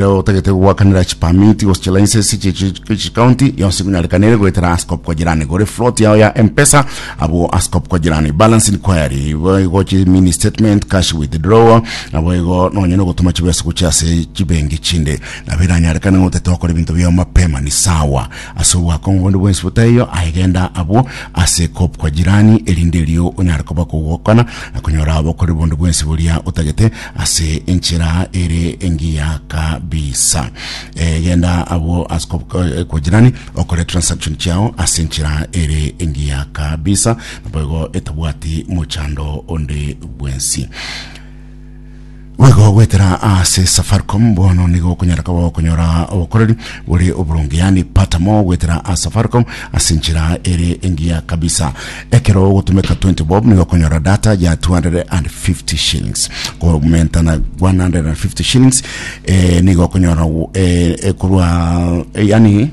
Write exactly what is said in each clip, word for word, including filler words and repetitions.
Otagete gwakanera chipermit gose chilicense chicounty yonsi kunyarekanire goetera ase Co-op Kwa Jirani, gore float yao ya M-Pesa abo ase Co-op Kwa Jirani, balance inquiry, boigo chi mini statement, cash withdrawal, nabo igo nonye nogotuma chibesa gochia ase chibenki chinde nabo iranyarekane ng'otete okora ebinto biao mapema ni sawa ase obwakong'u bonde bwensi botaiyo. Aigenda abwo ase Co-op Kwa Jirani erinde erio onyare koba kogokana na konyora obokori bonde bwensi boria otagete ase enchera ere engiya kabisa. Eh, genda abwo ase Co-op eh, Kwa Jirani okore transaction chiao ase enchera ere engiya kabisa, naboigo etabwati mochando onde bwensi. Boigo gwetera ase Safaricom bono nigo okonyara koba okonyora obokoreri bore oboronge, yani pata mo gwetera ase Safaricom ase enchera ere engiya kabisa. Ekero ogotumeka twenty bob nigo okonyora data ya two hundred fifty shillings, komenta na one hundred fifty shillings eh, nigo okonyora eh, eh, korwa eh, yani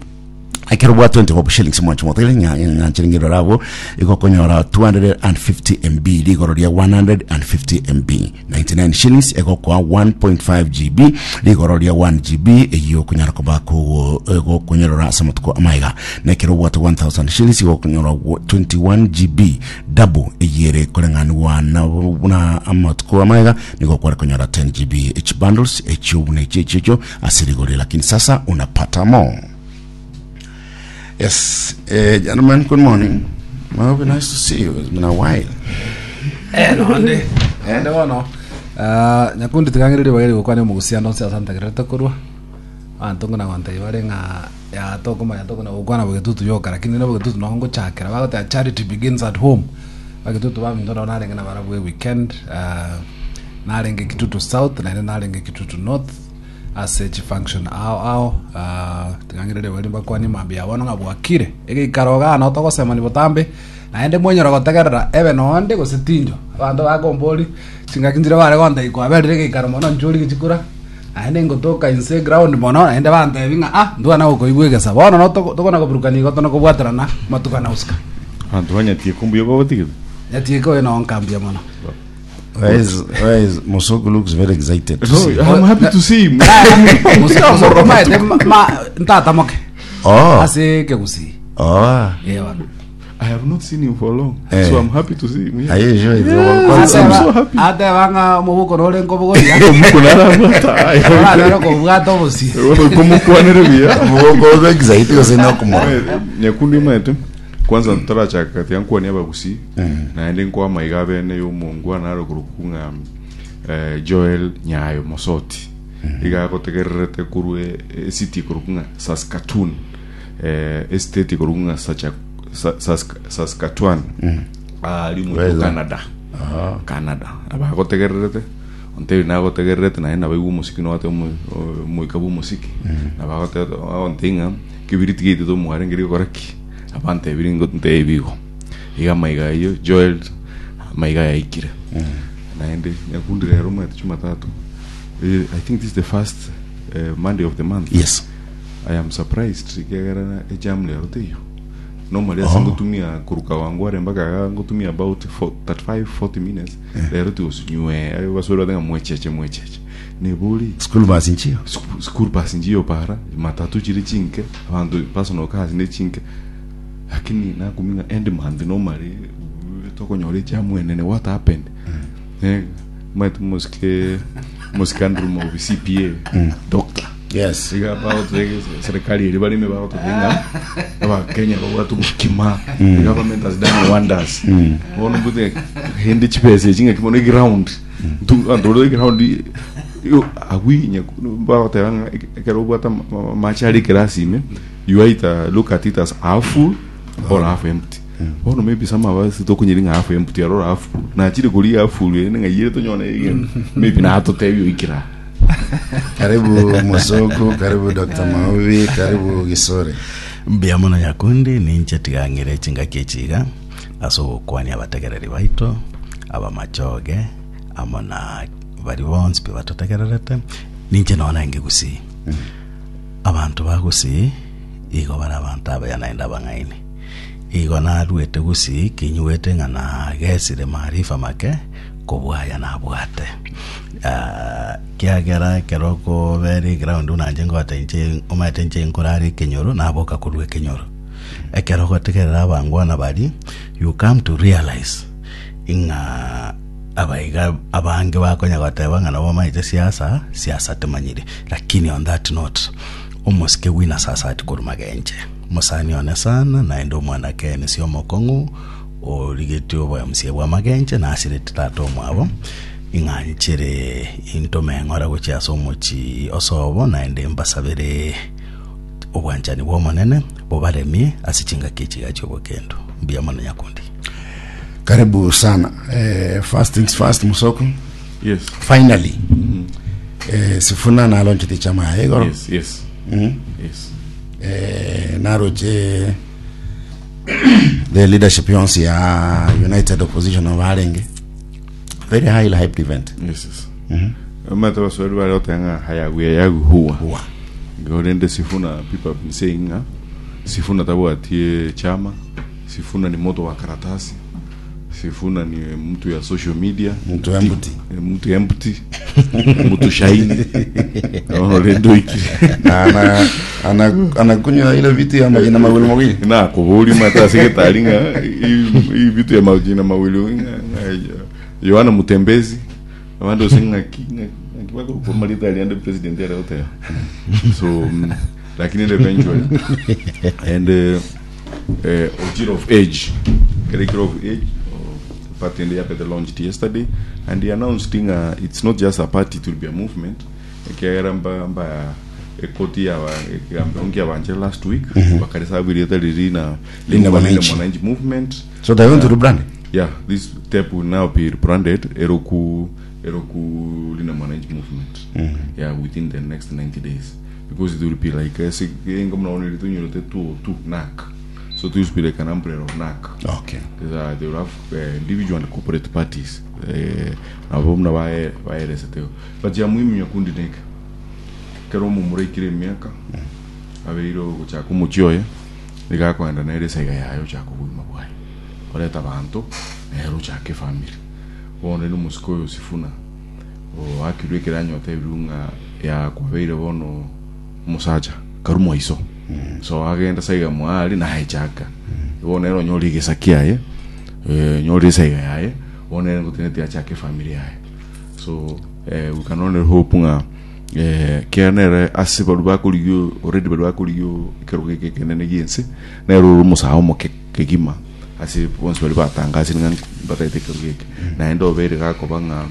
ekero bwa twenty bob shillings mwancho motele nyanchiringiro rabo igo okonyora two hundred fifty M B, rigoro ria one hundred fifty M B ninety-nine shillings egokoa one point five G B, rigoro ria one G B eyo okonyara koba gokonyorora ase amatuko amaiga. Nekero obwate one thousand shillings igo okonyora twenty-one G B, double eyere koreng'anigwa na buna amatuko amaiga nigo okware konyora ten G B. Echi bundles echio buna echi echio ase rigori, lakini sasa unapata more. Yes, uh, gentlemen, good morning. Well, be nice to see you. It's been a while. Eh, nonde ende bono. Ah, Nyakundi, tigang'ereria bageri gokwana omogusiano onsi ase antegererete korwa abanto ng'ina gontebia bare ng'a ya tokomanya tokona gokwana bogetutu yoka, lakini na bogetutu nogo ngochakera bagoteba charity begins at home. Bagetutu baminto nabo narenge na barabwo weekend. Ah, narenge Kitutu South naende narenge Kitutu North ase chifunction ao ao. Ah, tigang'ereria bari mbakwanie mambia bono ng'a bwakire egeikaro igaa no togosemani botambe naende mwenyora gotegerera ebe nonde gose tinjo abanto bakombori chingaki nchire bare gontebia kwaberire egeikaro mono nchori gichikura naende ngotoka inse ground mono naende bantebi ng'a ah ndwana gokoigwa egesa bono no togo- tokona koburukania igo tona kobwaterana matuko na usika. Abanto banyatie kumbuya babatigete. Nyatieke oyo no nkambia mono. Where is, where is Musoku? Looks very excited to No, see. I'm happy to see him. Musoku maete ntatamoke Oh, ase kegusii. oh. Eh, bono. I have not seen him for long. Eh. So I'm happy to see him. Yeah. Are you sure it's Yeah. all I'm so happy. Ateba ng'a omobuko nore nkobogoria. Omuko narabwata. Orarero kobwata obosi. Komukwanere buya. Mugogo excited gose no kumora. Nyakundi maete kwanza ntarachaka kati yankuania abagusi naende nkwa maiga bene y'omongwana narokoro kung'a eh, Joel Nyayo Mosoti iga gotegererete korwa ecity korwa kung'a Saskatoon, eh, estate korwa kung'a Sacha- Sa- Sask- Saskatchewan ari Where is mu that? Canada. Canada abagotegererete ontebi nagotegererete naye nabaigwa omosiki nowate omoika bwa omosiki nabagote ng'a kibiriti giaitete omware ngeri gokora ki abantebiri ntebi igo iga maiga ayio Joel maiga yaikire naende. Nyakundi, rero mwete Jumatatu. Eh, I think this is the first uh, Monday of the month. Yes. I am surprised ikegera ejam lero teiyo. Normally ase ngotumia kuruka wangware mpaka iga ngotumia about four- thirty-five forty minutes, lero tigosinywe ayo basore batenga mwecheche mwecheche nebori. School bus nchiyo. Sku- school bus njiyo para matatu chiri chinke abanto personal cars ne chinke, lakini nakuminga end month normally tokonyora ejamu enene. What happened? Eh, maete mosike mosike Andrew Maubi C P A doctor. Yes. Iga bagote serikali eri barime bagototenga abakenya babwate obokima. The government has done wonders. Bono mbute hindi chibesa echi ng'aki mono eground anto ore eground yo agwinya bagoteba ng'a ekero obwate amache are ekerasi ime, you either look at it as half full or half empty. Bono maybe some of us tokonyeri ng'a half empty or half full nachire kori half full ere ng'a yire tonyone egento maybe natotebia oikera. Karibu Musoku, karibu Doctor Maubi, karibu Gisore. Mbuya mono Nyakundi, ninche tigang'ire chingaki echiga ase ogokwania abategereri baito abamachoge amo na bari bonsi pi batotegererete. Ninche nona enge gusii abanto bagusii igo bare abanto abaya naende abang'aini igo narwete gusii kinywete ng'a nagesire maarifa make. Kobwaya nabwate. Ah, kiagera ekero okobera eground nanje ngote inche omanyete inche nkorara ekenyoro naboka korwa ekenyoro ekero ogotegerera abangwana bari you come to realize ing'a abaiga abange bakonya goteba ng'a nabo bamanyete siasa siasa temanyire lakini on that note omosike wina sasa ati korwa magenche mosani one sana naende omwana kene si omokong'u origetie oboyamusie bwa magenche nasirete tata omwabo ing'anchere intomeng'ora gochia ase omochi osobo naende mbasabere obwanchani bwa omonene bobaremie ase chingaki echiga chia obokendo mbuya mono nyakundi karibu sana eh, first things first musoko yes finally eh, sifuna nalonchete chama yaye igoro yes yes mm. yes eh, naroche the leadership yonse ya united opposition obarenge very highly hyped event yes yes amata baswahili bali otenga hayaguya yaguhuwa Huwa. ngorende sifuna people have been saying nga sifuna tabwatie chama sifuna ni moto wa karatasi sifuna ni mtu ya social media Mtu empty. Eh, mtu empty mtu shaini orendo ikire ana ana anakunywa ile vitu ya majina mawili mawili na kubuli mata sekretari nga hii vitu ya majina mawili nga- nga- Yohana Mutembezi abandu osenga kinga kibako kwa malita aliende president ya yote so mm, lakini eventually and uh, uh, Ojiro of age Kirikiro of age uh, the party in the the launched yesterday and he announced uh, it's not just a party it will be a movement ekiagera mba mba ekoti ya ekigambo yabanje last week bakarisabirite riri na Linda Mwananchi. Mwananchi movement so they want to rebrand yeah this step will now be rebranded eroku eroku Linda Mwananchi movement yeah within the next ninety days because it will be like eh, mnaona litunyulote two two NAC so it will be like an umbrella of NAC okay There's a, they will have uh, individual and corporate parties eh, nabo mna bae baereseteo but ya muhimu nyakundi neke kero mumurekire emiaka abeire gochaka omochi oye nigakwenda nere esaiga yaye ochaka obogima bwaye oreta abanto nere ochaka efamily bono ni omosike oyo Sifuna oakirwe ekero anyota ebiru ng'a yakwabeire bono omosacha karu mwaiso so agenda saiga mwari naechaka bono nere onyore egesa kiaye eh, nyore esaiga yaye bono nere ngoteneti achake efamily yaye so eh, we can only hope ng'a eh, kera nere ase baru bakorigio already baru bakorigio ekero geke ekenene giense nere ore omosaha omoke kegima ase bonsi bari batangasire ng'a bataete ekero geke naende obeire gakoba ng'a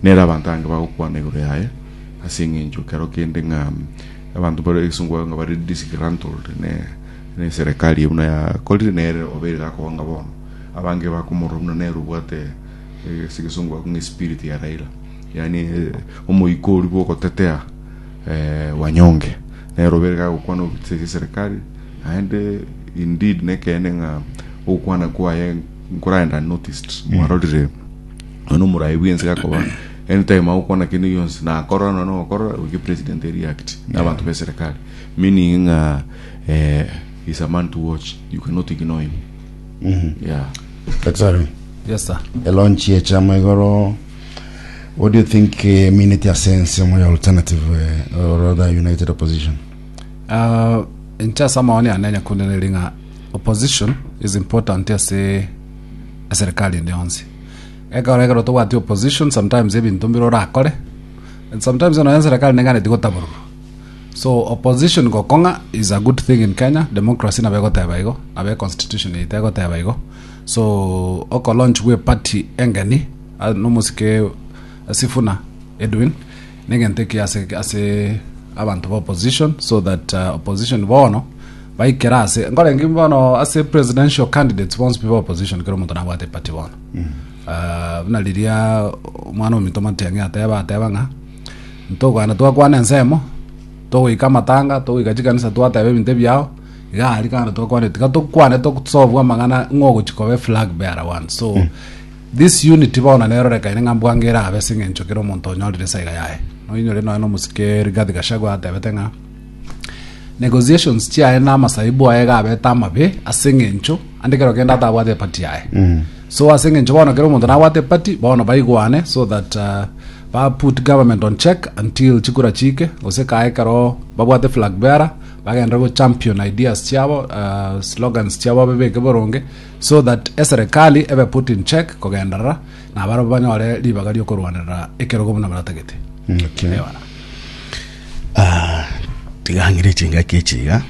nere abanto ange bagokwana igoro yaye ase eng'encho kero kende ng'a abanto bare egesongo ng'a bari disgruntled ne ne serikali buna yakorire nere obeire gakoba ng'a bono abange bakomorora buna nere obwate eh, ase egesongo bakong'a espirit ya Raila yani eh, omoiko oria bwogotetea eh, wanyonge nere obeire gagokwana obitse serikali naende indeed nekene ng'a ogokwana kwaye nkoraenda unnoticed mwarorire ono murayi bwense gakoba anytime agokwana kende gionsi nakorora nonya okorora goika president react na abanto ba serikali meaning ng'a eh, he's a man to watch you cannot ignore him yeah daktari yes sir elaunch ye chama igoro what do you think uh, minute ya sense ya alternative uh, or rather united opposition uh, inche ase amaoni ane nyakundi neri ng'a opposition is important ase eserikali ende yonsi ekero ekero tobwati opposition sometimes ebinto mbire orakore and sometimes nonya eserikali negane tigotaborwa so opposition gokong'a is a good thing in kenya democracy nabo egoteba igo nabo econstitution yaito egoteba igo so oko launch bwa party engeni ah, nomosike Sifuna Edwin negento eki ase ase abanto ba opposition so that uh, opposition bono baikera ase nkorengi bono ase presidential candidates bonsi pi ba opposition kero omonto nabwate party bono uh, buna riria omwana ominto Matiang'i ateba ateba ng'a ntokwana twakwana ensemo togoika amatanga togoika chikanisa twateba ebinto ebiao iga aria kando twakwane tiga tokwane tosolve amang'ana ng'ogochi koba flag bearer one so this unity bono nerorekaine ng'a mbwange erabe ase eng'encho kera omonto onyorire esaiga yaye noinyore nonya na omosike Rigathi Gachagua atebete ng'a negotiations chiaye na amasaibu aye gabete amabe ase eng'encho ande kero kende atabwate eparty yaye So ase eng'encho bono kera omonto nabwate eparty, bono baigwane so that uh, ba put government on check until chikura chike gose kae ekero babwate flag bearer bagendere go champion ideas chiabo, uh, slogans chiabo babeke boronge so that eserikali ebe put in check kogenderera na barabwo banyore ribaga riokorwanerera ekerogo buna baratagete. Okay. Ewana. Ah, tigang'ire chingaki echiga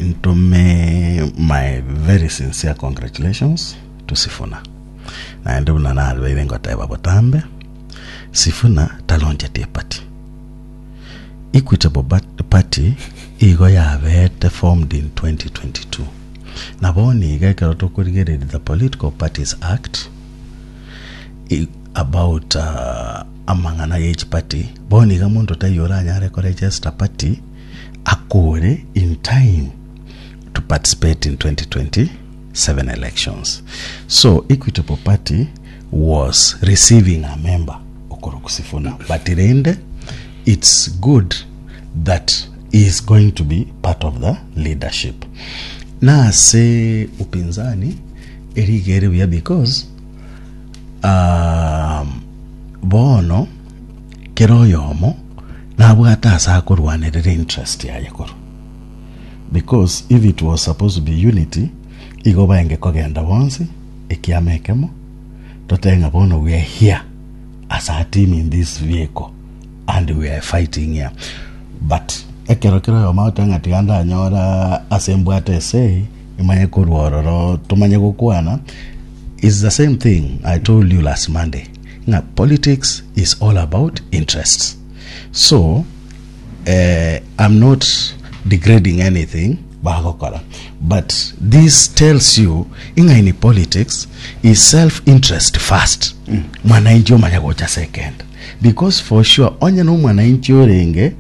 ntome my very sincere congratulations to Sifuna. Naende buna nabeire ngoteba botambe, Sifuna talonchete eparty. Equitable Bat- Party igo yabete formed in twenty twenty-two. Nabo niga ekero tokorigereria the Political Parties Act i- about uh, amang'ana ya each party, bono iga monto taiyo oranyare koregister party akore in time to participate in twenty twenty-seven elections. So Equitable Party was receiving a member okoroku Sifuna, but rende it's good that he is going to be part of the leadership. Nase upinzani erigere buya because um, bono kero oyomo nabwate ase akorwanerera interest yaye korwa, because if it was supposed to be unity, igo baenge kogenda bonsi ekiama ekemo totenga bono we are here as a team in this vehicle and we are fighting here. But ekero kero oyomo agotenga tiga ndanyora ase mbwate ase imanye korwa ororo tumanye gokwana is the same thing I told you last Monday. Nga politics is all about interests. So uh, I'm not degrading anything bagokora, but this tells you inga in politics is self interest first, mwananchi omanya gocha second, because for sure onye no mwananchi orenge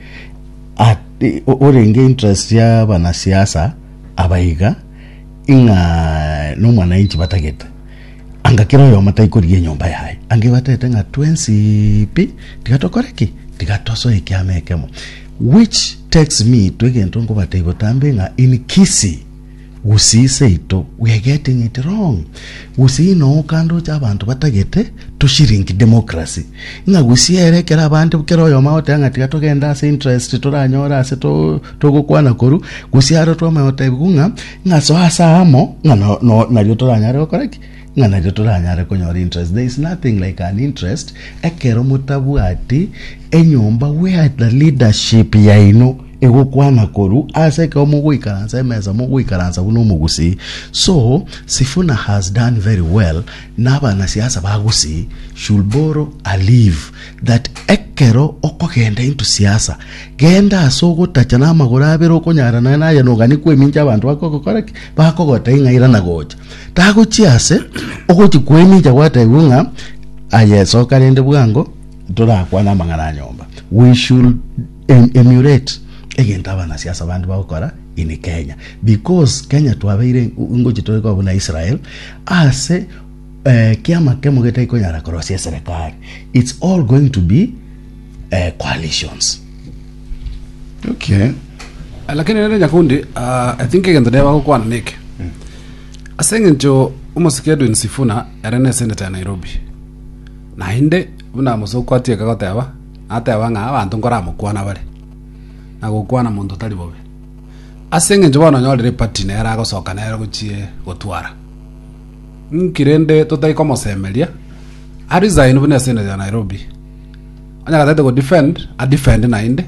ati- orenge interest ya banasiasa abaiga ing'a no mwananchi batagete anga kero oyomo taikorigia enyomba yaye ange batete ng'a twensi pi tigatokore ki tigatosoe ekiama ekemo, which takes me to egento nkobatebia botambe ng'a in Kisii, Gusii seito, we are getting it wrong. Gusii no kando cha abantu batagete tushiringi democracy ng'a Gusii ere kera abande kera oyomo agoteba ng'a tiga togenda ase interest toranyora ase to- togokwana koru Gusii aro twamagotebigu ng'a ng'a so ase amo ng'a no- no- nario toranyare gokora ki ng'a nario toranyare konyora interest. There is nothing like an interest ekero motabwati enyomba where the leadership yaino egokwana koru ase ekero mogoikaransa emesa mogoikaransa buna omogusii. So Sifuna has done very well, na abanasiasa ba Gusii should borrow a leaf that ekero okogenda into siasa genda ase ogotacha na amagoro abere okonyara naye naye nogani kwemincha abanto bakogokora ki bakogota ing'aira na gocha tagochia ase ogochi kwemincha gwatebiwa ng'a aye soka rende bwango torakwana amang'ana a nyomba. We should em emulate egento abanasiasa bandi bagokora in Kenya, because Kenya twabeire ngochi tore buna Israel ase eh, kiama kemo getaikonyara korosia serikali. It's all going to be eh, coalitions. Okay. Lakini rere Nyakundi, uh, I think egento neba gokwana neke ase eng'encho omosike Edwin Sifuna ere ne senator ya Nairobi naende buna mosoko atieka goteba ateba ng'a abanto nkoramokwana bare na gokwana monto tari bobe ase eng'encho bono onyorire party nere agosoka nere gochie gotwara nkirende totari komosemeria aresign buna esenator ya Nairobi onya gatete go defend a defend naende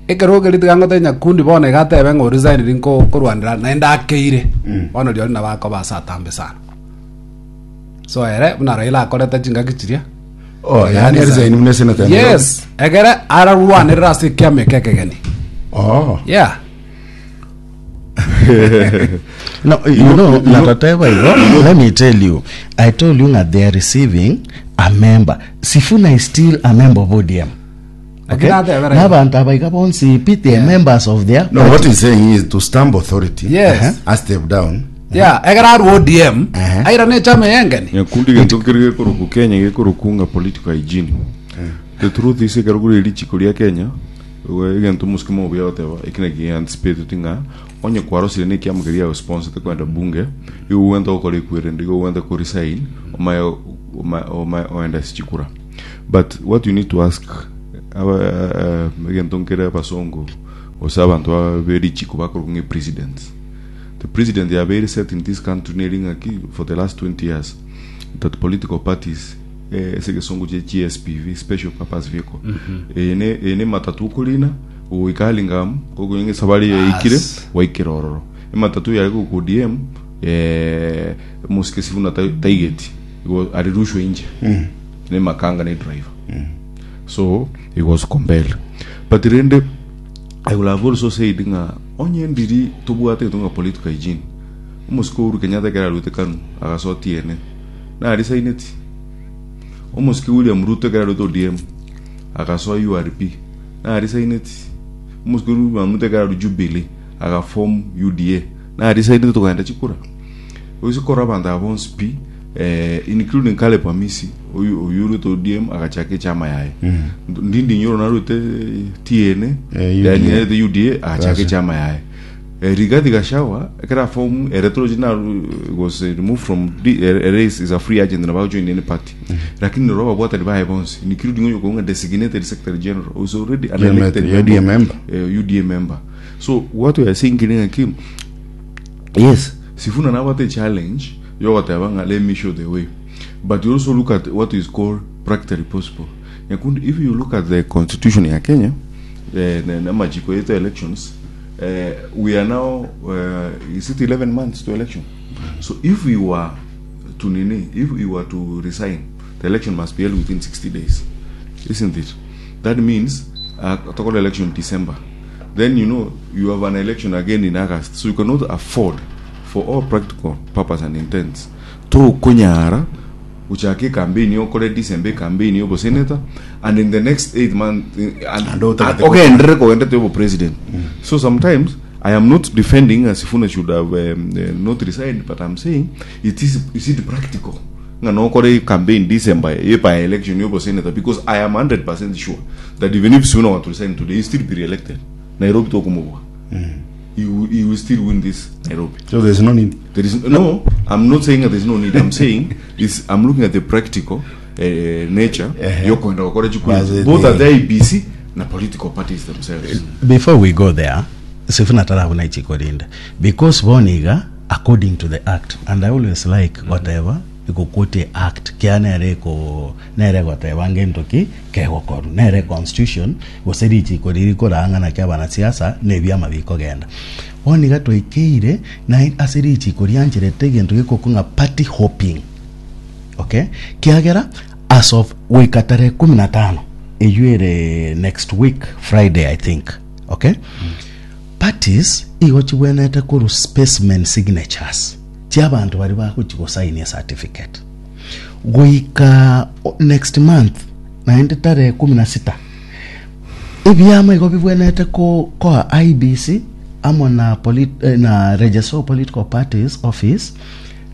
ekero okeri tiga ngote Nyakundi bono igatebe ng'a oresign ri nko korwanera naende akeire bono riori nabo akoba ase atambe sana. So ere buna Raila akorete chingaki chiria. Oh, yani resign buna senator ya Nairobi. Yes, ekere ararwanerera ase ekiama eke ekegeni. Oh. Yeah. No, you know, natateba hivyo. Let me tell you. I told you that they are receiving a member. Sifuna is still a member of O D M. Okay? Lakini atebera N'abantu abaiga bonsi pi they are members of their No, what he's saying is to stamp authority. Yes. A step down. Yeah, ekere arwa O D M Uh-huh. aira ne echama eyengeni. Nyakundi gento kiri gikuruku Kenya gikuruku nga political hygiene. The truth is ekero kuri richiko ria Kenya Egento musikimo obuya goteba ekina ki anticipate tinga onye kwarosire ne kiamu keria sponsor te kwenda bunge igo wenda okore kwerende igo wenda ko resign omaye oma oenda sichikura. But what you need to ask aba egento nkere abasongo gose abantu aberichiko bakorwa president. The president ya very set in this country neringaki for the last twenty years that political parties eh segesongo che G S P V, special purpose vehicle, ene ene matatu kulina uikalingam kogo sabari ikire waikirororo matatu yari ku D M eh musike sifuna taigeti go alirushwe nje ne makanga ne driver. So it was compelled. But rende I will have also said nga onye ndiri tobwate tunga political hygiene umusiko Uhuru Kenyatta kera rute kanu agasoti ene na arisaineti umusiki William Ruto kera rute O D M akasoa U R P na arisaineti umusiki William Ruto kera Jubilee agaform U D A na arisaineti tukaenda chikura usikora abantu abonsi p eh including Caleb Amisi uyu uyu Ruto O D M agachake chama yaye ndindi nyoro na rute T N yani the U D A agachake chama yaye Rigathi Gachagua kera form electoral was removed from the race is a free agent na ba join any party. Lakini roba bwata libaye bonsi including uyu konga designated secretary general was already an elected U D A member. Uh, U D A member. So what we are saying in yes, Sifuna na what a challenge yo whatever, let me show the way. But you also look at what is called practically possible. If you look at the constitution in Kenya, the the majiko elections, Uh, we are now uh, is it eleven months to election? So if we were to nini, if we were to resign, the election must be held within sixty days, isn't it? That means uh, total election December. Then you know you have an election again in August, so you cannot afford, for all practical purpose and intents, to kunyara uchake campaign yokore December campaign yobo senator, and in the next eight months and, and okay and yobo president. Mm. So sometimes I am not defending as Sifuna should have um, uh, not resigned, but I'm saying it is is it practical nga no kore campaign December ye by election yobo senator, because I am one hundred percent sure that even if Sifuna were to resign today, he still be re-elected. Nairobi tokumubwa. Mm. He will, he will still win this Nairobi. So there's no need. There is no. I'm not saying that there's no need. I'm saying is I'm looking at the practical uh, nature. Uh-huh. Both at the I B C and political parties themselves. Before we go there, Sifuna tarabuna ichikorinda because boniga according to the act, and I always like whatever ikukote act kia nere ko nere goteba ngentoki kegokoru nere constitution goseri chikoriri koranga na kia banasiasa nebyama bikogenda boniga toikeire na aseri chikoriancherete gento gikokunga party hopping. Okay, kiagera as of wika tarehe kumi na tano eyuere next week Friday I think. Okay, mm. Parties igo chibwenete kuru specimen signatures chiabantu bari bakuchikosaini certificate goika next month naende tarehe kumi na sita ebyama igo bibwenete ko ko I B C amo na polit, eh, na Register of Political Parties office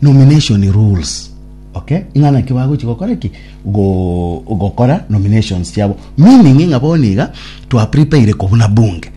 nomination rules. Okay, ingana kibago chikokora ki go gokora nominations chiabo meaning ingaboniga to prepare ko bunge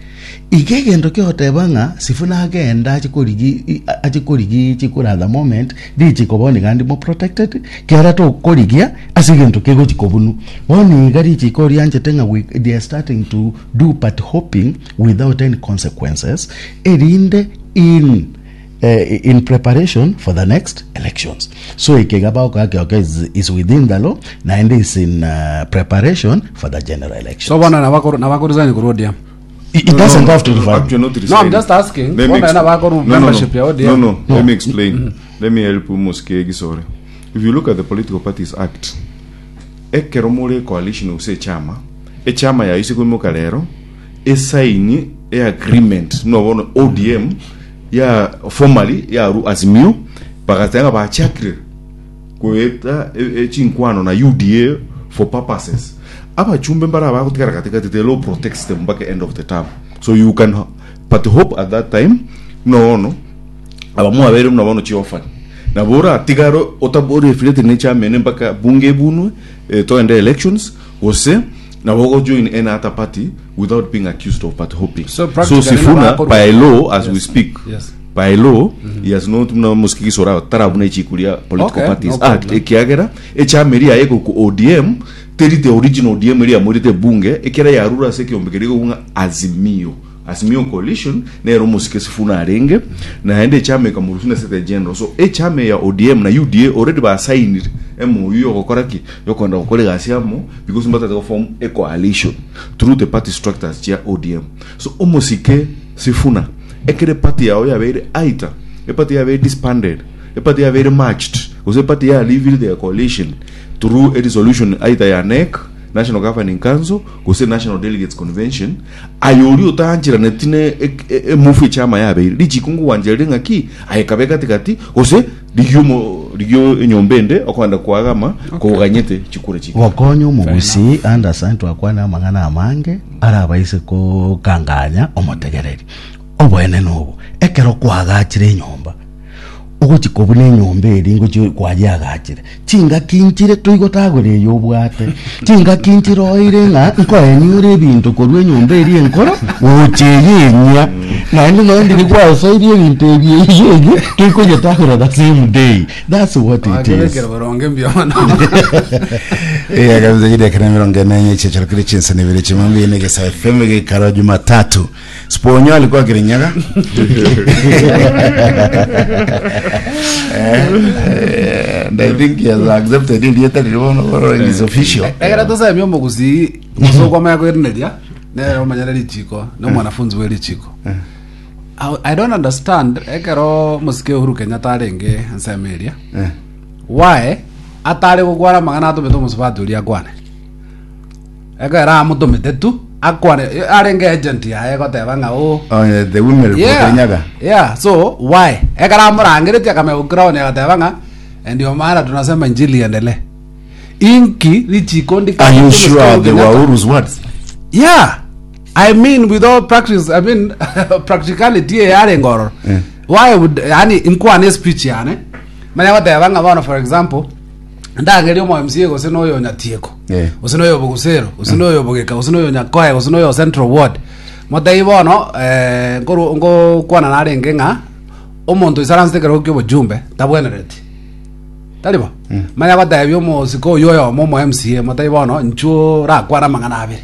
igegendo kyotebanga Sifuna agenda achikorigi achikorigi chikura the moment dichikoboni gandi mo protected kiara to korigia asigento kego chikobunu boni gari chikori anje tenga we they are starting to do party hopping without any consequences erinde in uh, in preparation for the next elections. So ikegaba okay is, is within the law and is in uh, preparation for the general election. So bwana nabakuru nabakurizani kurudia. It, it no, doesn't no, have to no, not no, I'm just asking. Let me no, membership no, no. No, no, no. Let me explain. Mm-hmm. Let me help you Muske Gisore. If you look at the Political Parties Act, ekeromole coalition use chama, e chama ya isi kumoka lero, e sign e agreement no bono O D M ya formally ya ru Azimio bakatenga ba chakre kueta e chinkwano na U D A for purposes. Abachumbe mbara bakutikara katikati the law protects them back end of the term, so you can but hope at that time no no abamu abere mna bono chiofan na bora tigaro otabori affiliate ne chairman mpaka bunge bunwe eh, to end elections gose Nabo go join any other party without being accused of party hopping. So So practically Sifuna nabakor- by law as we Yes. speak, Yes. by law he has not muna musikisora tarabuna echikuria political Okay, parties no act problem. ekiagera echameri yaye ku O D M teri the original O D M eri yamorete bunge ekera yarura ase ekiombekeri gokung'a Azimio, Azimio coalition nero musike Sifuna arenge naende echama ekamurusu na Secretary General. So echama ya O D M na U D A already basainire M O U yogokora ki yokwenda gokora egasi amo because mbatete go form a coalition through the party structures chia O D M. So omosike Sifuna ekere party yao yabeire aita epati yabeire disbanded, epati yabeire matched gose epati ya leaving their coalition through a resolution either ya N E C, National Governing Council, gose National Delegates Convention, ayori otanchiraneti ne emufu echama yabeire richikungu wanjere ng'aki ayekabe katikati gose rigio mo- rigio enyomba ende okwenda kwagama koganyete chikura chiko. Gokonya omogusi understand twakwana amang'ana amange arabaise kokanganya omotegereri obwene nobo ekero kwagachire enyomba ogochi kobuna enyomba eri ngochi kwajiagachire chingaki nchire toigotagora eyo obwate chingaki nchire oire ng'a nkoeniore ebinto korwa enyomba eri enkoro gocha eye enyia naende noende nigwasoirie ebinto ebi eye enye toikonyetagora the same day. That's what it is. Akebekera boronge mbiono. Eh, kabisa jide mirongo ene chicharo kiri chinsa ni vile chimambi ni gesa F M gikaro Jumatatu. Sponyo alikuwa Kirinyaga. Eh, eh, and I think he has accepted it yet it is official. Ekera tosemia omogusi gose kwamanya kwerineria nere omanyere richiko ni omwanafunzi wa richiko. I, I don't understand ekero mosike Uhuru Kenyatta arenge ensemo eria Eh. why atari gukwana magana atumite omusubati oria akwane ekero amutumite tu akwane arenge agent yaye goteba ng'a o Oh, yeah, the women report yeah Kirinyaga. Yeah, so why ekero amurangeretie akamenya gukiraonia agateba ng'a ndio maana tunasema injili iendelee inki richiko ndi Are you sure they were Uhuru's words? Yeah, I mean, with all practice, I mean, practicality yare ngoro. Yeah. Why would yani inkwane speech yani manya goteba ng'a bono, for example, ndangeria omo M C A gose noyo nyatieko Yeah. gose noyo bogusero gose noyo bogeka gose noyo nyakoe gose noyo Central Ward motei bono eh ngoru ngokwana narenge ng'a omonto isaranse kero kio bojumbe tabwenereti taribo manya gotebia omosiko oyo oyomo omo M C A motei bono nchuo rakwana mang'ana abere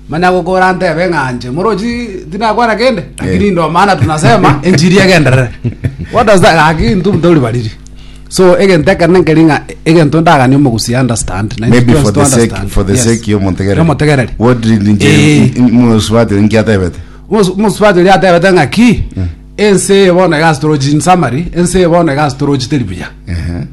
manya gukora ntebe ng'anje morochi tinakwana kende lakini ndo maana tunasema injili egenderere. What does that lakini ntu tori bariri so egento ekene nkeri ng'a egento ndagania omogusi understand na Maybe influence for to the sake understand. for the Yes. sake yo Montegereri. Yomotegereri. What did Eh. nje muswati nkiatebete? Omusubati oria atebete ng'aki ense bono egasitorochi in summary ense bono egasitorochi teri buya Eh.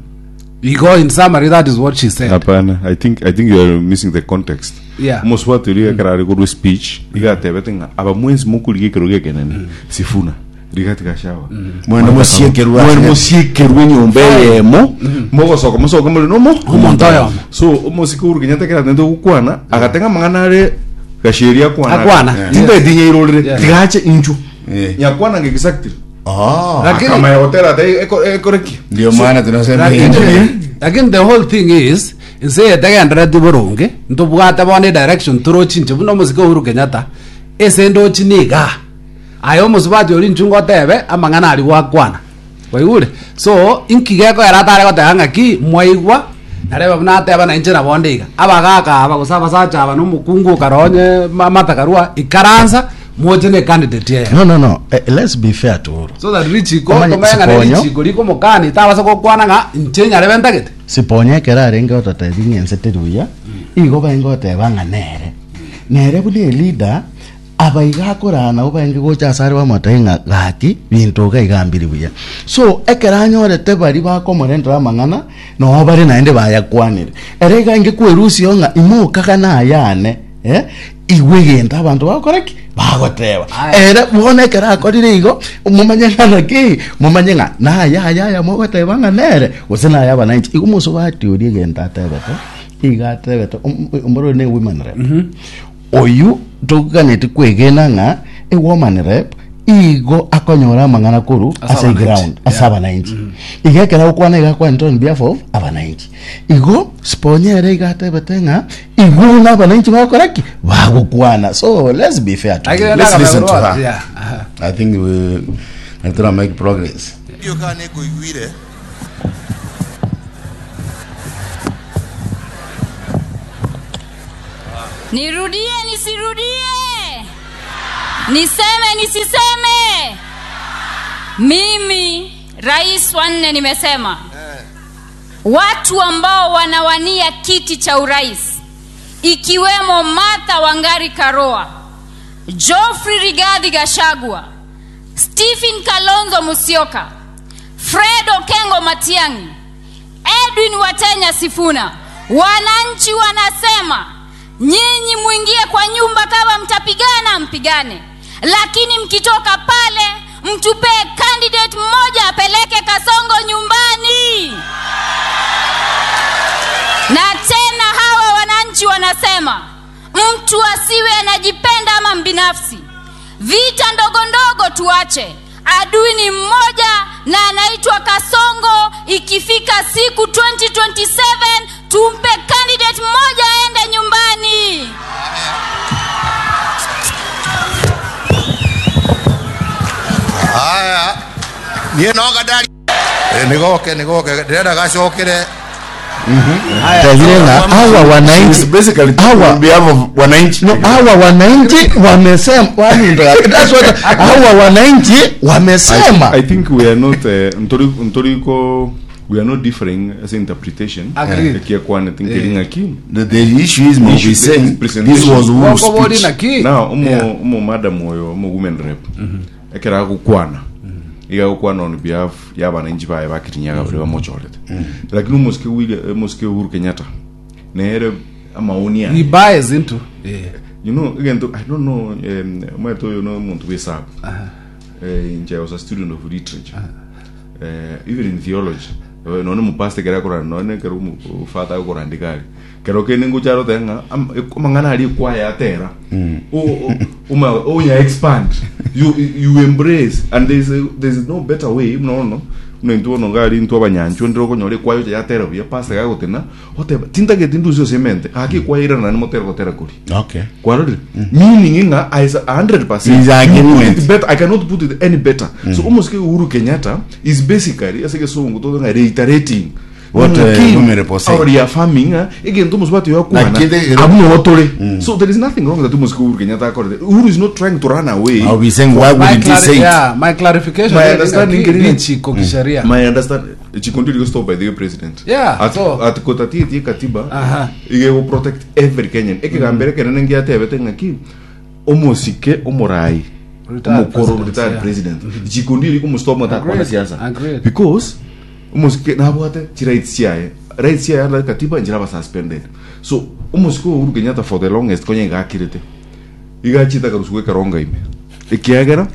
igo in summary that is what she said. Hapana, i think i think you are missing the context. Yeah. Omuswati oria ekero are korwa speech igatebete ng'a aba mwensi mokorigia ekero gekenene Sifuna rigati gashawa. Mwende musiekerwa. Mwende musiekerwe enyomba eyemo mogosoka mosoke muri nomo Omonto oyomo. So omosike Uhuru Kenyatta ekero atente gokwana agatenga amang'ana are gasheria akwana. Akwana. Tintaetinyairorere Yeah. tigache inchu Yeah. nyakwana ng'e exactly. Oh. Lakini- Akamaya gotera ate ekoreki. Ndio maana tunasema lakini injili. Lakini the whole thing is nse etegendereti boronge ntobwate bono edirection torochi inche buna omosike Uhuru Kenyatta ase ndochi niga aye omosubati ori inchu ngotebe amang'ana ari gwakwana waigure so inki gekoera atare goteba ng'aki mwaigwa narebe buna ateba na inche nabo ndiga abagaka aba gose abasacha aba na omokungu okaronye matakarua ikaransa moche na ecandidate eye. No, no, no, eh, let's be fair to Uhuru. So that richiko Omanye, tomeng'ana siponyo. richiko rikomokani tabasa gokwana ng'a inche nyarebe ntagete. Siponya ekero arenge ototebi ng'ense teri buya igo baenge goteba ng'a nere nere buna eleader abaiga akorana nabo baenge gocha ase are bamotebia ng'a gaki binto iga iga mbiri buya so ekero anyorete bari bakomorentera amang'ana noo bare naende bayakwanire ere iga inge kwerusio ng'a imokaga nayane eh igwe egento abanto bagokora ki bagoteba. Aya. Ere bono ekero akorire igo mumanye ng'a naki mumanye ng'a naya aya aya mogoteba ng'a nere gose naya abananchi igo mosubati oria egento atebete iga atebete omborore ne women rep oyu toganeti kwegena ng'a e woman rep. Igo akonyora amang'ana koru Ase ase abananchi. ground ase Yeah. abananchi. Igo ekero agokwana iga akwanete on behalf of abananchi. Igo sponyere iga atebete ng'a igo na abananchi bagokora ki? Bagokwana. So let's be fair to him. Let's listen to her. Yeah. Aha. I think we natara make progress. Ndiyo kana nĩngũiguire Nirudie nisirudie? Niseme nisiseme? Mimi rais wa nne nimesema watu ambao wanawania kiti cha urais ikiwemo Martha Wangari Karua, Geoffrey Rigathi Gachagua, Stephen Kalonzo Musyoka, Fred Okengo Matiang'i, Edwin Watenya Sifuna. Wananchi wanasema nyinyi mwingie kwa nyumba, kama mtapigana mpigane, lakini mkitoka pale mtupee candidate mmoja apeleke Kasongo nyumbani. Na tena hawa wananchi wanasema mtu asiwe anajipenda ama mbinafsi. Vita ndogo ndogo tuache. Adui ni mmoja na anaitwa Kasongo. Ikifika siku twenty twenty-seven tumpe candidate mmoja aende nyumbani. Haya, niĩ no ngandari nĩgoke nĩgoke ndĩrenda gacokere. Tazile na hawa wananchi She's basically hawa on behalf of wananchi. No, hawa wananchi wamesema wani ndo that's what hawa wananchi wamesema. I, I think we are not uh, ntori ntoriko we are not differing as interpretation. Agreed. Ekia kwana tinkiringa ki. The, the issue is Maubi Issue- saying presentation. this was Uhuru's Wako bori speech. na ki. Now umo Yeah. umo madam oyo umo women rep. Ekera gukwana. Iga gukwana on behalf ya bananchi baye bakirinyaga bari bamochorete. Lakini umosike William umosike Uhuru Kenyatta. Nere amaoni He yaye. buys into. Yeah. You know again I don't know um mweto oyo no muntu wesabu. Eh nje I was a student of literature. Eh even in theology. Eh, none mupastor kera kora none kero mufata kurandika ari. Kero kene ngucharo tenga amangana ari kwaya atera. O uma onya expand. You you embrace and there's a, there's no better way no no. Nento no ngari nto abanyancho ndiro konyore kwayo yatera buya pastor gagotena oteba tintagete ndusio semente aki kwaira na motero gotera kuri. Okay. Kwarori meaning nga is a hundred percent Is agreement. Put it better I cannot put it any better. So almost Uhuru Kenyatta is basically asike songo to nga reiterating What, uh, King, Women Rep was saying. or reaffirming uh, again to what you are Na kile- abuno otore. So there is nothing wrong that almost Uhuru Kenyatta accorded. Uhuru is not trying to run away. I'll be saying why My, wouldn't he clari- say it? yeah, my clarification My there understanding ni ni- ni chiko kisheria. My understand chikondi liko stop by the president. Yeah, At so- at kotati ti katiba. Aha. Ige go protect every Kenyan. Eke gambere kenene ngiatebete ng'aki omosike omorai Retired omokoro president, retired yeah. president. Chikondi liko mustop mata Agreed, kwana siasa. agreed. Because omosike nabwate chi rights chiaye. Rights chiaye under katiba njira ba suspended. So omosike Uhuru Kenyatta for the longest konya igakirete. Igachita karusuke karonga ime. Ekiagera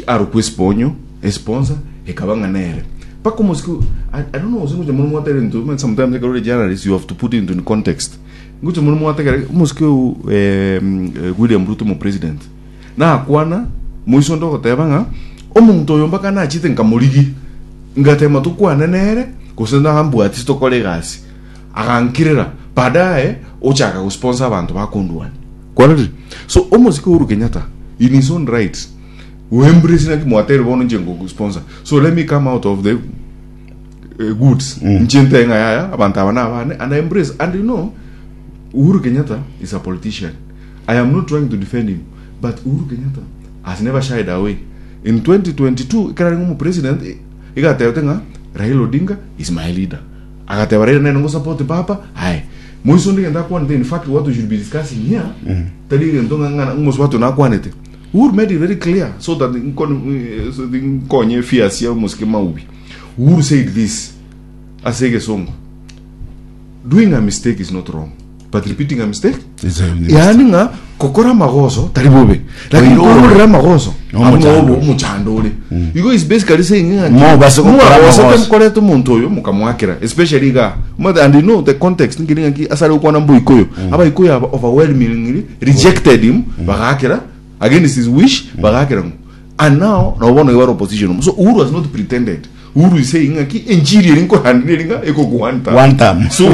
arukwe sponyo sponsor ikabanga nere paka mosque I, I don't know singo jamu mwatere into man sometimes they journalists you have to put it into context ngucho muno mwatere mosque eh, William Ruto mo president na kwana muiso ndo goteba nga omuntu oyo mpaka nachite nkamurigi ngatema tukwane nere kusenda hambwa ati tokore gasi agankirira baadaye ochaka kusponsor abantu bakundwani kwarari so almost Uhuru Kenyatta in his own right uembrace na kimwatere bono nje sponsor so let me come out of the uh, goods mm. nchente nga yaya abantu abana abane and I embrace and you know Uhuru Kenyatta is a politician. I am not trying to defend him, but Uhuru Kenyatta has never shied away. In twenty twenty-two ikara ngumu president igateba nga Raila Odinga is my leader. Agateba Raila nene support papa. Hai. Mwiso ndi ngenda kwanete in fact what we should be discussing here. Mm. Tali ngento ngana ngos watu na kwanete. Uhuru made it very clear so that nkon so the nkonye fears ya muske maubi. Uhuru said this. Asege songo. Doing a mistake is not wrong, but repeating a mistake It's a- yaani nga kokora magoso tari bobe lakini Oiro. kororera magoso Omuchando. omuchando uri you is basically saying nga Mo basi kokora magoso. mukorete omuntu oyo mukamwakira especially ga mother and you know the context ngiri ngaki asari ukwana mbuikoyo abaikoyo aba overwhelmingly rejected him bagakira against his wish bagakira ngo And now na bono ibaro opposition. So Uhuru has not pretended. Uhuru is saying ng'aki enjiri eri nkorandi eri ng'a ekoku one term. One term. So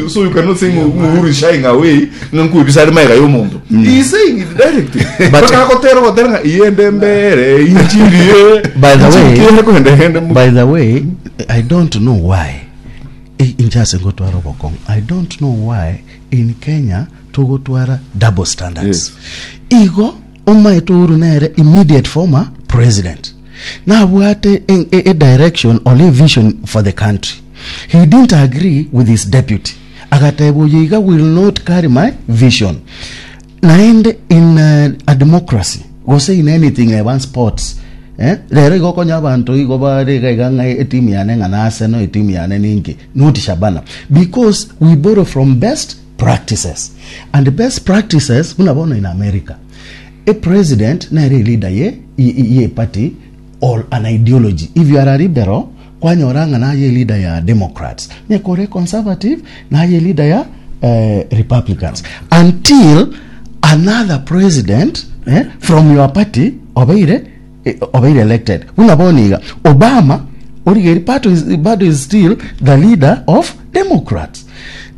so you cannot say Uhuru is shying away ng'a nkwebisa ari maega ya omonto. He is saying it directly. But- But akotera gotera ng'a iyende mbere injiri ye. By the way- Injiri kende kende mu- By the way, I don't know why I- inchase ngotwara obokong'u. I don't know why in Kenya togotwara double standards. Igo omaete Uhuru nere immediate former president nabwate a, a, a direction or a vision for the country. He didn't agree with his deputy, agateba oyo iga will not carry my vision. Naende in uh, a democracy gose in anything eban sports, eh? Rero igo okonya abanto igo bare iga iga ng'a etimu yane ng'a na Arsenal, etimu yane ninki, not Shabana, because we borrow from best practices, and the best practices buna bono in America, a president nere leader ye ye, ye party or an ideology. If you are a liberal, kwanyora ng'a naye leader ya Democrats, nyekore conservative naye leader ya eh, Republicans, until another president eh, from your party obeire eh, obeire elected. Buna bono iga Obama origeri bado is, bado is still the leader of Democrats.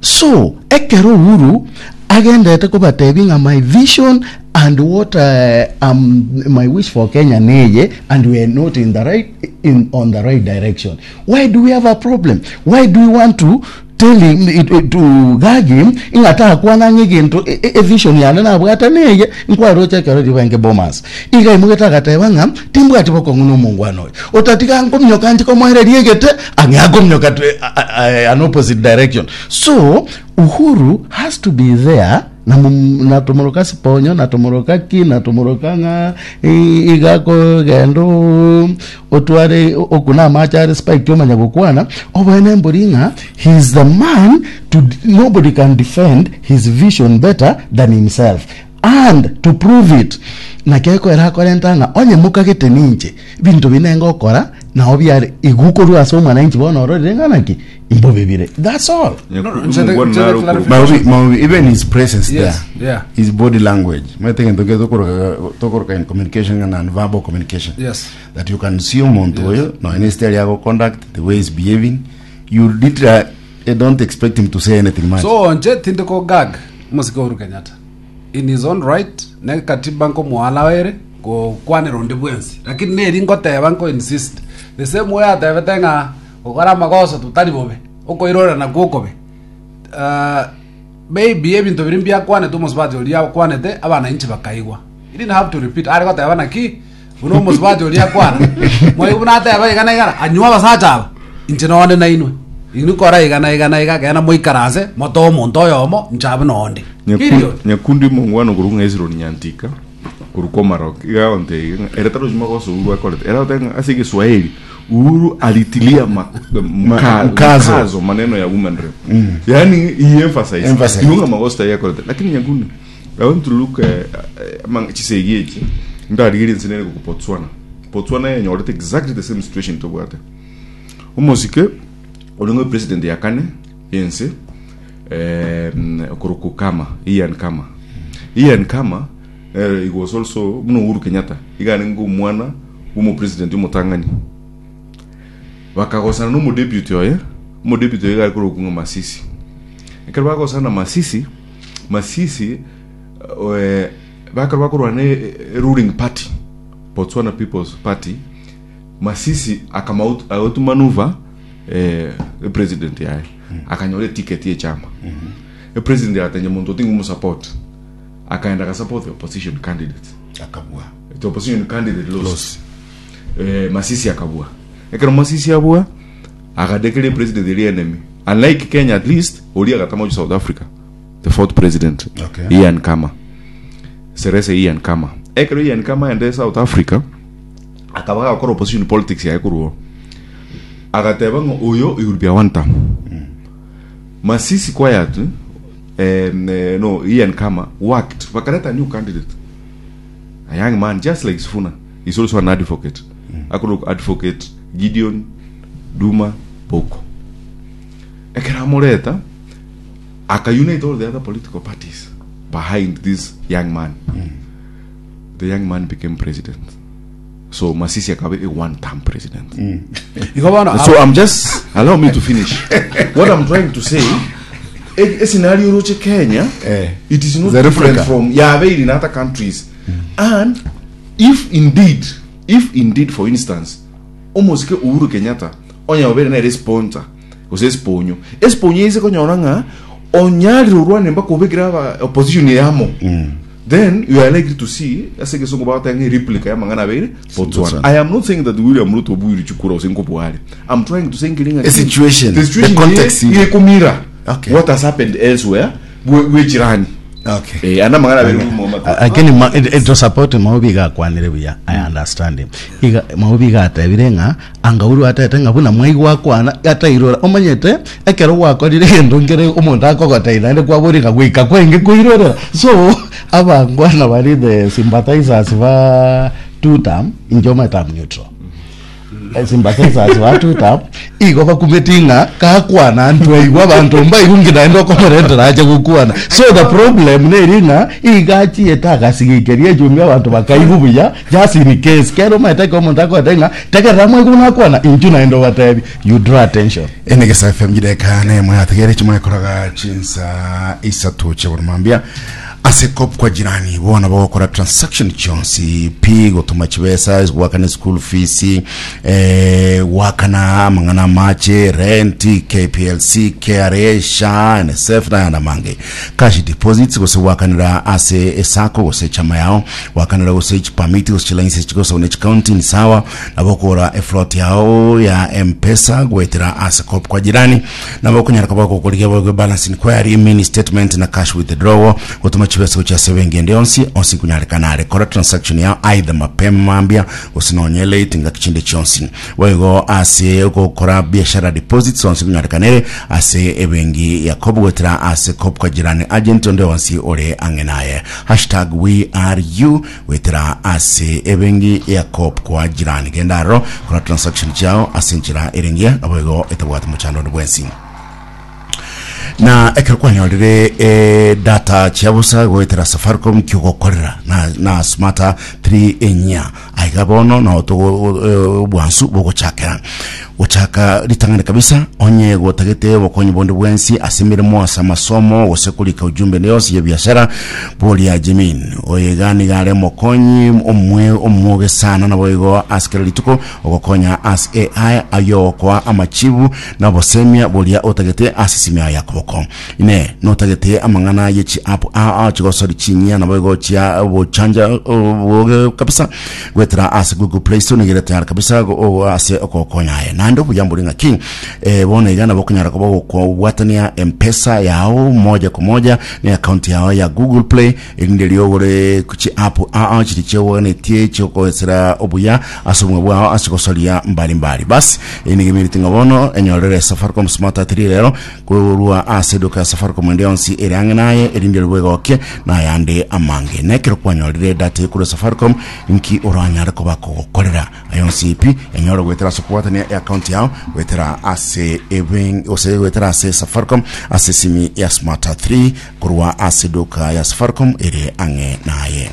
So ekero Uhuru agendete kobatebi ng'a my vision and what uh, um, my wish for Kenya neye, and we are not in the right in on the right direction, why do we have a problem? Why do we want to tell him it, it, to gag him ing'ata akwana ng'eginto e, e, e vision yane nabwate neye nkwaroche ekero ribenge Bomas iga imugete agateba ng'a timbwati bokong'u na omongwana oyo otatiga nkomnyoka nchi komoereria egete ang'e akomnyoka to a- a- an opposite direction. So Uhuru has to be there na mum- na tumoroka siponyo na tumoroka ki na tumoroka ng'a i- igako gendo otware okuna amache are spike omanya gokwana obwene mbori ng'a he is the man to nobody can defend his vision better than himself. And to prove it nakekoera akorenta ng'a onye mokagete ninche binto binenge okora nao biare igukorwa ase omwananchi bono ororire ng'a naki imbobibire. That's all. No, no, nchete- nchete clarify. Maobi, Maobi, even his presence Yes, there, yeah. his body language. My thing tokoroka in communication and non-verbal communication. Yes. That you can see omuntu oyo no any style yako conduct, the way he's behaving, you literally eh, don't expect him to say anything much. So nche tinde ko gag mosike Uhuru Kenyatta in his own right ne katiba nkomuhala were gokwanera onde bwensi, lakini neri ngoteba nko insist the same way atebete ng'a gokora amagoso tutari bobe okoirorera nakwo okobe. uh, maybe ebinto biri mbiakwanete omosubati oria akwanete abananchi bakaigwa. He didn't have to repeat ari goteba naki buna omosubati oria akwana mwaigu buna ateba iga na igana anywa abasacha aba inche nonde na inwe inwe kora iga na iga na iga kena moikaranse moto omonto oyomo inche abe nonde. Period. Nyakundi mongwano kurunga Israel nyantika kuruko Marok iga onte era taro juma goso Uhuru akorete era otenga ase Kiswahili Uhuru alitilia ma, mka, mkazo. mkazo maneno ya woman rep mm. Yani he emphasized Emphasize. Iunga magosta ya korete lakini Nyakundi I want to look uh, uh, chisegi echi ndarigiri nsinene ku Botswana. Botswana yenyorete exactly the same situation tobwate omosike olingo president yakane yense eh, kuruku Kama Ian Kama Ian Kama eh, he was also muno Uhuru Kenyatta igane ngo mwana umu president umutangani bakagosana no deputy oye mu deputy oye gari kuruku ngo Masisi ekero bagosana na Masisi Masisi eh, bakero bakorwa ne eh, ruling party Botswana People's Party Masisi akama out, out maneuver eh, the president yaye mm. Akanyore ticket ye chama mm -hmm. President yatenye muntu tingu mu support akaenda ka support the opposition candidate Akabua. The opposition candidate lost, lost. Eh, Masisi akabua ekero Masisi abua akadekele president the enemy unlike Kenya at least ori akatama South Africa the fourth president Okay. Ian Khama Serese Ian Khama ekero Ian Khama ende South Africa akaba gakora opposition politics yaye korwo agateba ng'o oyo iguru bia one term Masisi quiet eh, eh, no Ian Khama worked bakaleta new candidate a young man just like Sifuna he's also an advocate mm. Akuru advocate Gideon Duma Boko ekera amureta aka unite all the other political parties behind this young man mm. The young man became president. So Masisi akabe a one term president. Igo bono So I'm just allow me to finish. What I'm trying to say, a, a scenario roche Kenya, Eh. it is not The different replica. from yeah, in other countries. And if indeed, if indeed, for instance, almost ke Uhuru Kenyatta, onya obere na sponsor, gose sponyo. Esponyo ise konyora nga onyari rurwane mpaka ubekira aba opposition yamo. Then you are likely to see ase kesongo batanga replica ya mangana abere Botswana. Botswana. I am not saying that William Ruto obuiri chukura osenko buhari. I'm trying to say ngiringa A situation, the situation the context. ye kumira Okay. what has happened elsewhere we we jirani. Okay. Eh ana mangana abere mu Lakini ma, it, it support maubi gakwanire buya. I understand him. Iga maubi gatebire ng'a angauru atete ng'a buna mwaigwa kwana atairora omanyete ekero gwakorire gento nkere omonto akogoteira ende kwabori ng'a goika kwenge koirorera so abangwana bari the sympathizers ba two term injo matam neutral. Eh, sympathizers ba two term igo bakumeti ng'a kakwana antu aigwa abanto mbaigungi naende okomoretera ache gokwana so the problem neri ng'a igachiete agasigikeria echumbi abanto bakaigu buya just in case kero maete ke omonto akoete ng'a tekerera mwaigu nakwana inchu naende obatebi you draw attention. Enegesa F M jideka ne mwategere chimwe chinsa isatu cheburumambia ase Cop kwa Jirani bona bagokora transaction chonsi pi gotuma chibesa gwakana school fees, eh wakana mangana mache rent, K P L C, K R A, SHA, N S F na yana mange cash deposits gose wakanira ase esako gose chama yao wakanira gose permit gose license gose one county ni sawa nabokora eflot yao ya M-Pesa gwetera ase Cop kwa Jirani nabo kunyara kabako kuliga bwo balance inquiry, mini statement na cash withdrawal gotuma chibesa cha sebengende onsi onsi kunyarekana are kora transaction yao either mapema mambia usinonye late ngakchinde chonsi wego ase gokora biashara deposits onsi kunyarekanere ase ebengi ya Coop gwetera ase Cop kwa Jirani agent onde onsi ore angenaye hashtag we are you wetera ase ebengi ya Coop kwa Jirani gendaro kora transaction chao ase nchira erengia nabo etabwate muchando bwensi na ekero kwanyorire e, data chiabusa goetera Safaricom kiogokorera na, na Smarta three enya aiga bono no togo e, bwansu bogochakera gochaka ritang'ani kabisa onye gotagete bokonyi bonde bwensi ase emirimo ase amasomo gose korika ujumbe yonsi ya biashara boria Jimin oyegani gare mokonyi omwe omwoge sana nabo igo asikere rituko ogokonya as A I ayo kwa amachibu nabosemia boria otagete ase simia yakoboko ine notagete amang'ana yechi app a a chigosori chinyia nabo igo chia bochanja boge kabisa gwetera ase Google Play Store nigere tayari kabisa go- o- ase okokonya aye nando buyamburi ng'aki eh, bono iga nabo konyara koba gokobwatania M-Pesa yao moja kwa moja ni account yao ya Google Play erinde riogore kuchi app a a chiri chiogonetie chiokoesera obuya ase obumwe bwao ase gosoria mbalimbali basi enigimiritinga bono enyorere Safaricom Smart three rero kurwa ase duka ya Safaricom ende yonsi ere ang'e naye erinde ribwegokie nayande amange nekero kwanyorire data ekuru Safaricom nki oranyare koba kogokorera ayonsi pi enyore gwetera ase okobwatania account yao gwetera ase eben ose gwetera ase Safaricom ase simi ya Smart three kurwa ase duka ya Safaricom ere ang'e naye.